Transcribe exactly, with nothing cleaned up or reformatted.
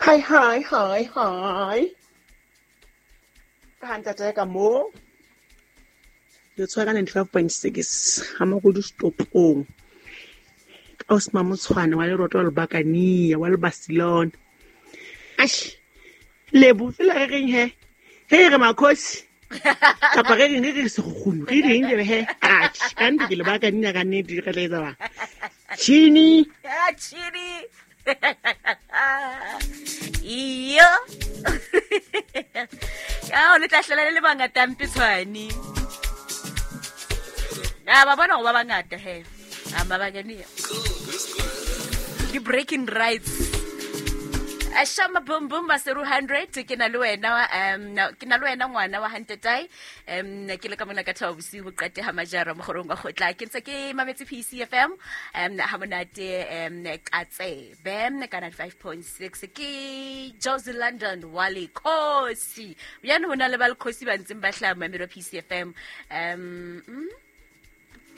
Hi, hi, hi, hi. Ka ntate ka mo. Le tshwara ka ninety-five point six ha Makudu stopong. Ka Osma Motshwane wa Leroto wa Lebakania wa le Barcelona. Ash. Lebo fela re reng he. He re makhosi. Kapa re reng re re sekgukgunu. Re reng le he. Ash, ka nnete ke Lebakania ka nnete re tla etsa ba. Chini. Ah, chini. Iyo. Ya o le tla hlola le le bangata mpitshwane. Ya ba bona go ba bangata he. A mabakania. Di breaking rights. Ashama boom boom maseru hundred ke na le wena um ke na le wena ngwana wa Hantetai um ke le ka mona ka thaba bosiu bo qete ha majara mogorong wa gotla ke ntse ke mametse P C F M um ha monate um ka tsebe ka ninety-five point six ke Josie London wa Lekhosi yana hona le ba Lekhosi ba ntseng ba hlaha mamelo P C F M um